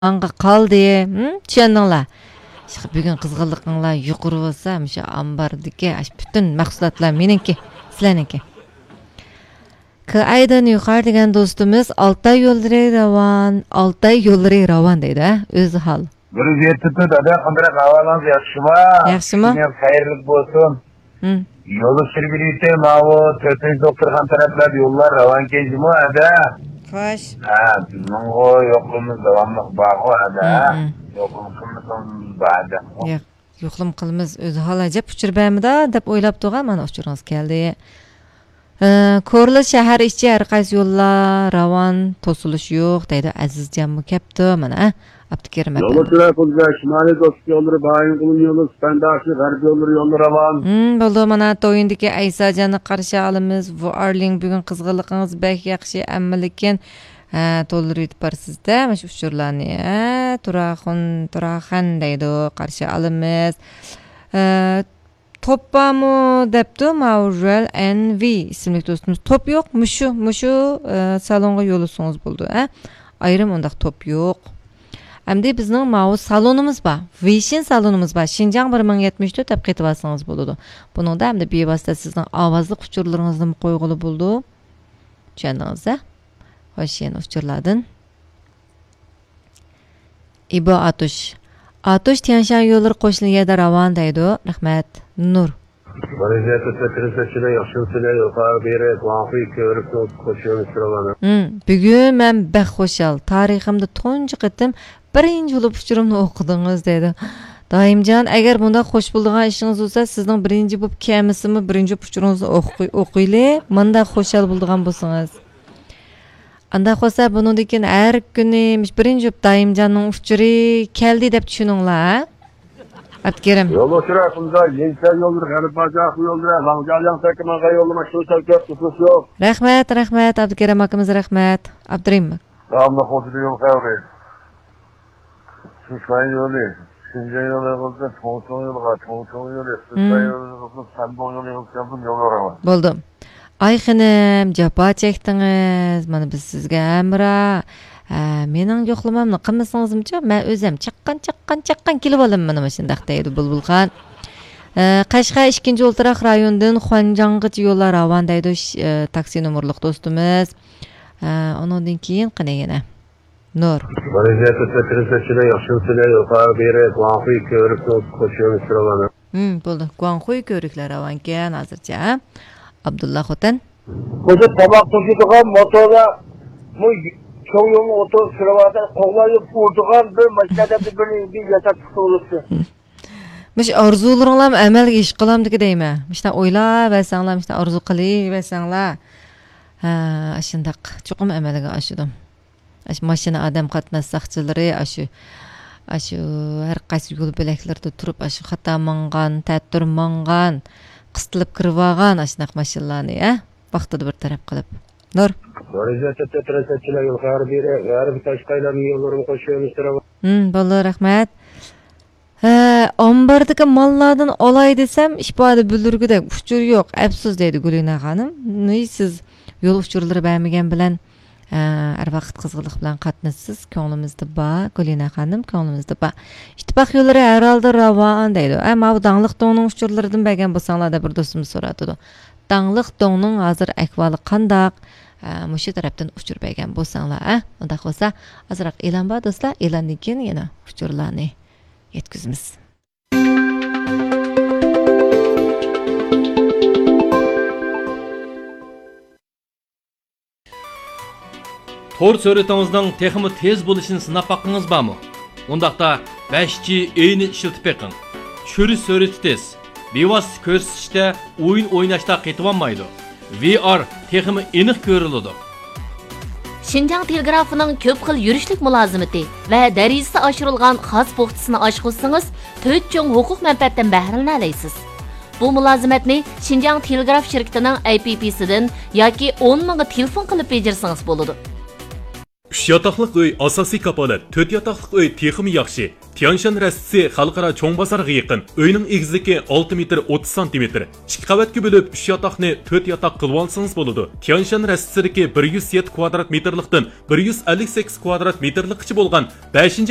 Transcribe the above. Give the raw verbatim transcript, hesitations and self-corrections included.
ماڭغا قالدى. ھىم؟ چۈشەندىڭلار؟ شۇ بۈگۈن قىزغىنلىقىڭلار يۇقىرى بولسا، مۇشۇ ئامباردىكى ئاشۇ پۈتۈن مەھسۇلاتلار مېنىڭكى، سىلەرنىڭكى. كىئايدىن يۇقىرى دېگەن دوستىمىز ئالتاي يوللىرى راۋان، ئالتاي يوللىرى راۋان دەيدۇ، ھە؟ ئۆزى ھال. بىر يەتتە تۆت، ئادا، قانداق ئەھۋالىڭىز، ياخشىمۇ؟ ياخشىمۇ؟ كۈنىڭىز خەيرلىك بولسۇن. ھىم. يول ئۇچۇر بېرىۋېتەي، ماۋۇ تۆتىنچى دوختۇرخانا تەرەپلەردە يوللار راۋانكەن جۇمۇ، ئەدە. خوش. ھە، بىزنىڭغۇ يولىمىز داۋاملىق بارغۇ، ئەدە. ھىم، ھىم. يولىمىز بار، ئەدە. ياق، يوقلىما قىلىمىز. ئۆزى ھال ئەجەب ئۇچۇر بەرمىدى دەپ ئويلاپ تۇرغان، مانا ئۇچۇرىڭىز كەلدى. ئە، كورلا شەھەر ئىچى ھەر قايسى يوللار راۋان، توسۇلۇش يوق دەيدۇ. ئەزىزجانمۇ كەپتۇ، مانا، ئە، ئابدۇكېرىم يولى ئەپەندى. چىراي قىلدى، شىمالىي دوستلۇق يوللىرى، بايىنغولىن يولى، سۇپەنداشى، غەربىي يوللىرى، يوللىرى راۋان. ھىم، بولدى، مانا، تويۇندىكى ئەيساجاننى قارشى ئالىمىز. ۋۇئارلىڭ، بۈگۈن قىزغىنلىقىڭىز بەك ياخشى، ئەمما لېكىن، ھە، تولدۇرۇۋېتىپ بارىسىز-دە، مۇشۇ ئۇچۇرلارنى، ھە، تۇراخۇن، تۇراخەن دەيدۇ، قارشى ئالىمىز. ئە، توپ بارمۇ دەپتۇ ماۋۇ رېل ئېن ۋى ئىسىملىك دوستىمىز. توپ يوق، مۇشۇ، مۇشۇ، ئە، سالونغا يوللىسىڭىز بولىدۇ، ئە. ئايرىم ئۇنداق توپ يوق. ئەمدى بىزنىڭ ماۋۇ سالونىمىز بار. ۋېيشىن سالونىمىز بار. شىنجاڭ بىر مىڭ يەتمىش تۆت دەپ قېتىۋالسىڭىز بولىدۇ. بۇنىڭدا ئەمدى بىۋاسىتە سىزنىڭ ئاۋازلىق ئۇچۇرلىرىڭىزنىمۇ قويغىلى بولىدۇ. چۈشەندىڭىز-دە؟ خوش، يەنە ئۇچۇرلاردىن. ئىبو ئاتۇش. ئاتۇش تيەنشان يوللىرى قوشنا يەردە راۋان دەيدۇ. رەھمەت. نۇر. ۋەزىيەتتە تۆتىنچى ياخشى ئۆتىدۇ، يۇقىرى بېرى گۇاڭخۇي كۆۋرۈكنىڭ قوشۇنى سۈرۈۋالىدۇ. ھىم، بۈگۈن مەن بەك خۇشال. تارىخىمدا تۇنجى قېتىم بىرىنچى بولۇپ ئۇچۇرۇمنى ئوقۇدىڭىز دەيدۇ. دائىمجان، ئەگەر بۇنداق خوش بولىدىغان ئىشىڭىز بولسا، سىزنىڭ بىرىنچى بولۇپ كەلمىسىمۇ، بىرىنچى بولۇپ ئۇچۇرىڭىزنى ئوقۇي-، ئوقۇيلى. مانداق خۇشال بولىدىغان بولسىڭىز. ئانداق بولسا، بۇنىڭدىن كېيىن ھەر كۈنى مۇشۇ بىرىنچى بولۇپ دائىمجاننىڭ ئۇچۇرى كەلدى دەپ چۈشىنىڭلار، ھە؟ ئابدۇكېرىم. يول ئۇچۇرى ھەققىدە يېڭىچە يوللىرى، غەربىي باجاقنىڭ يوللىرى، لاڭجياڭ تەكىمانغا يوللىما شۇ سەۋەب كۆپ تۇتۇش يوق. رەھمەت، رەھمەت، ئابدۇكېرىم ئاكىمىز، رەھمەت. ئابدۇرېھىم. داۋاملىق ئوتتۇرا يول خەۋىرى. سىسان يولى، شىنجاڭ يولى بولسا، چوڭچوڭ يولىغا، چوڭچوڭ يولى، سىسان مم. يولى بولسا، سەنبوغ يولى بولسا، يول راۋان. بولدى. ئاي خېنىم، جاپا چەكتىڭىز، مانا بىز سىزگە ھەمراھ. ھە، مېنىڭ يوقلىمامنى قىلمىسىڭىزمۇچۇ، مەن ئۆزۈم چاققان، چاققان، چاققان كېلىۋالىمەن مانا مۇشۇنداق دەيدۇ بۇلبۇل خان. ھە، قەشقەر ئىككىنچى ئولتۇراق رايونىدىن خۇەنجاڭغىچە يوللار راۋان دەيدۇ، ش-، ئە، تاكسى نومۇرلۇق دوستىمىز. ھە، ئۇنىڭدىن كېيىن قېنى يەنە. نۇر. ۋەزىيەتتە تۆتىنچى ياخشى ئۆتىدۇ، يۇقىرى بېرى گۇاڭخۇي كۆۋرۈكنىڭ قوشۇنى سۈرۈۋالىدۇ. ھىم، بولدى. گۇاڭخۇي كۆۋرۈكلەر راۋانكەن ھازىرچە، ھە؟ ئابدۇللا خوتەن. بۇ تاماق توشۇيدىغان موتورلار، بۇ چوڭ يولنىڭ ئوتتۇرىسىدا سۈرۈۋاتقان، قوغلايدۇ، ئۇرىدىغان بىر ماشىنا دەپ بىر، بىر ياساپ چىقىۋالىپتۇ. مۇشۇ ئارزۇلىرىڭلارمۇ ئەمەلگە ئىش قىلامدىكى دەيمەن. مۇشۇنداق ئويلاۋەرسەڭلار، مۇشۇنداق ئارزۇ قىلىۋەرسەڭلار. ھە، ئاشۇنداق چوقۇم ئەمەلگە ئاشىدۇ. ئاشۇ ماشىنا ئادەم قاتناش ساقچىلىرى ئاشۇ، ئاشۇ ھەر قايسى يول بۆلەكلىرىدە تۇرۇپ، ئاشۇ خاتا ماڭغان، تەتۈر ماڭغان، قىستىلىپ كىرىۋالغان ئاشۇنداق ماشىنىلارنى، ھە، ۋاقتىدا بىر تەرەپ قىلىپ. نۇر. ۋەزىيەتتە تۆت رەسەتچىلەر يول خەۋەر بېرە، غەربىي تاشقايلارنىڭ يوللىرىنى قوشۇۋېلىشتۇرۇۋاتىدۇ. ھىم، بولدى، رەھمەت. ھە، ئامباردىكى ماللاردىن ئالاي دېسەم، ئىپادە بىلدۈرگۈدەك ئۇچۇر يوق. ئەپسۇس، دەيدۇ گۈلىنە خانىم. نى سىز يول ئۇچۇرلىرى بەرمىگەن بىلەن، ھە، ھەر ۋاقىت قىزغىنلىق بىلەن قاتنىشىسىز. كۆڭلىمىزدە بار، گۈلىنە خانىم، كۆڭلىمىزدە بار. ئىتتىپاق يوللىرى ھەر ھالدا راۋان، دەيدۇ. ھە، ماۋۇ داڭلىق دوڭنىڭ ئۇچۇرلىرىدىن بەرگەن بولساڭلار دەپ بىر دوستىمىز سوراپتۇ. داڭلىق دوڭنىڭ ھازىر ئەھۋالى قانداق؟ ھە، مۇشۇ تەرەپتىن ئۇچۇر بەرگەن بولساڭلار، ھە؟ ئۇنداق بولسا، ئازراق ئېلان بار، دوستلار. ئېلاندىن كېيىن يەنە ئۇچۇرلارنى يەتكۈزىمىز. تور سۈرئىتىڭىزنىڭ تېخىمۇ تېز بولۇشىنى سىناپ باققىڭىز بارمۇ؟ ئۇنداقتا بەش جى ئېينى ئىشلىتىپ بېقىڭ. چۈشۈرۈش سۈرئىتى تېز، بىۋاسىتە كۆرسىتىشتە ئويۇن ئويناشتا قېتىۋالمايدۇ. ۋى ئار تېخىمۇ ئېنىق كۆرۈلىدۇ. شىنجاڭ تېلېگرافىنىڭ كۆپ خىل يۈرۈشلۈك مۇلازىمىتى ۋە دەرىجىسى ئاشۇرۇلغان خاس پوختىسىنى ئاچقۇزسىڭىز، تۆت چوڭ ھوقۇق مەنپەئەتتىن بەھرىلىنەلەيسىز. بۇ مۇلازىمەتنى شىنجاڭ تېلېگراف شىركىتىنىڭ ئەي پى پىسىدىن ياكى ئون مىڭغا تېلېفون قىلىپ بېجىرسىڭىز بولىدۇ. ئۈچ ياتاقلىق ئۆي ئاساسىي كاپالەت، تۆت ياتاقلىق ئۆي تېخىمۇ ياخشى. تيانشان رەستىسى خەلقئارا چوڭ بازارغا يېقىن. ئۆينىڭ ئېگىزلىكى ئالتە مېتىر ئوتتۇز سانتىمېتىر. ئىككى قەۋەتكە بۆلۈپ، ئۈچ ياتاقنى تۆت ياتاق قىلىۋالسىڭىز بولىدۇ. تيانشان رەستىسىدىكى بىر يۈز يەتتە كۋادرات مېتىرلىقتىن بىر يۈز ئەللىك سەككىز كۋادرات مېتىرلىققىچە بولغان بەشىنچى